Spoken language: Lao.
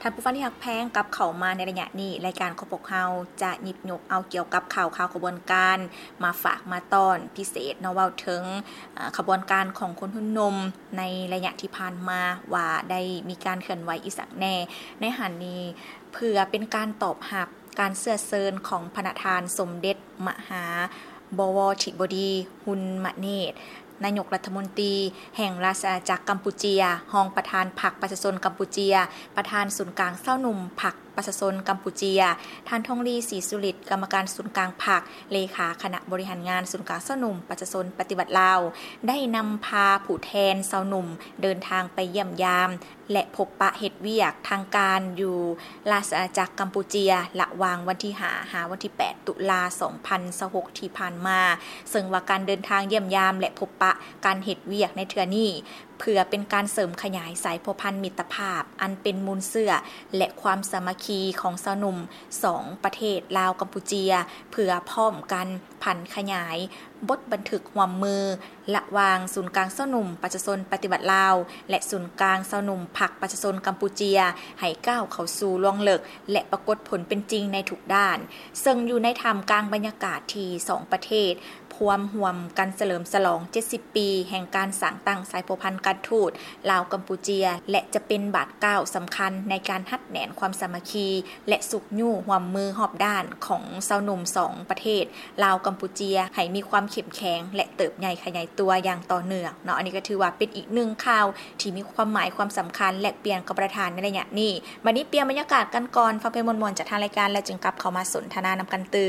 ທ່ານຜູ້ຟັງທີ່ຮັກແພງ, ກັບເຂົ້າມາໃນໄລຍະນີ້, ລາຍການຂອງພວກເຮົາຈະຫຍິບຍົກເອົາກ່ຽວກັບຂ່າວຄາວຂະບວນການມາຝາກມາຕ້ອນພິເສດເນາະ, ເວົ້າເຖິງ ເອີ່ ຂະບວນການຂອງຄົນຮຸ່ນໜຸ່ມໃນໄລຍະທີ່ຜ່ານມາ ວ່າໄດ້ມີການເຄື່ອນໄຫວອີ່ສັງແດ່. ໃນຫັ້ນນີ້ ເພື່ອເປັນການຕອບຮັບການເຊື້ອເຊີນຂອງພະນະທ່ານສົມເດັດມະຫາ ບໍວໍທິບໍດີ ຮຸນມະເນດ ນາຍົກລັດຖະມົນຕີແຫ່ງລາຊະອານາຈັກກຳປູເຈຍ, ຮອງປະທານພັກປະຊາຊົນກຳປູເຈຍ, ປະທານສູນກາງຊາວໜຸ່ມພັກປະຊາຊົນກຳປູເຈຍ, ທ່ານ ທອງລີ ສີສຸລິດ ກຳມະການສູນກາງພັກ, ເລຂາຄະນະບໍລິຫານງານສູນກາງຊາວໜຸ່ມປະຊາຊົນປະຕິວັດລາວ, ໄດ້ນຳພາຜູ້ແທນຊາວໜຸ່ມເດີນທາງໄປຢ້ຽມຢາມ ແລະ ພົບປະເຮັດວຽກທາງການຢູ່ລາຊະອານາຈັກກຳປູເຈຍ ລະຫວ່າງວັນທີຫ້າ ຫາວັນທີແປດ ຕຸລາ ສອງພັນຊາວຫົກ ທີ່ຜ່ານມາ, ເຊິ່ງວ່າການເດີນທາງຢ້ຽມຢາມ ແລະ ພົບປະການເຮັດວຽກໃນເທື່ອນີ້ ເພື່ອເປັນການເສີມຂະຫຍາຍສາຍພົວພັນມິດຕະພາບ ອັນເປັນມູນເຊື້ອ ແລະ ຄວາມສາມັກຄີຂອງຊາວໜຸ່ມສອງປະເທດ ລາວ-ກຳປູເຈຍ, ເພື່ອພ້ອມກັນຜັນຂະຫຍາຍບົດບັນທຶກຮ່ວມມື ລະຫວ່າງສູນກາງຊາວໜຸ່ມປະຊາຊົນປະຕິວັດລາວ ແລະ ສູນກາງຊາວໜຸ່ມພັກປະຊາຊົນກຳປູເຈຍ ໃຫ້ກ້າວເຂົ້າສູ່ລວງເລິກ ແລະ ປາກົດຜົນເປັນຈິງໃນທຸກດ້ານ, ເຊິ່ງຢູ່ໃນທ່າມກາງບັນຍາກາດທີ່ສອງປະເທດພວມຮ່ວມກັນສະເຫຼີມສະຫຼອງເຈັດສິບປີແຫ່ງການສ້າງຕັ້ງສາຍພົວພັນການທູດລາວ-ກຳປູເຈຍ ແລະ ຈະເປັນບາດກ້າວສຳຄັນໃນການຮັດແໜ້ນຄວາມສາມັກຄີ ແລະ ຊຸກຍູ້ຮ່ວມມືຮອບດ້ານຂອງຊາວໜຸ່ມສອງປະເທດ ລາວ-ກຳປູເຈຍ ໃຫ້ມີຄວາມເຂັ້ມແຂງ ແລະ ເຕີບໃຫຍ່ຂະຫຍາຍຕົວຢ່າງຕໍ່ເນື່ອງເນາະ. ອັນນີ້ກໍຖືວ່າເປັນອີກໜຶ່ງຂ່າວທີ່ມີຄວາມໝາຍຄວາມສຳຄັນ ແລກປ່ຽນກັບປະທານໃນໄລຍະນີ້. ບັດນີ້ປ່ຽນບັນຍາກາດກັນກ່ອນ, ຟັງເພງມ່ວນໆຈາກທາງລາຍການ ແລ້ວຈຶ່ງກັບເຂົ້າມາສົນທະນານຳກັນຕື່ມ.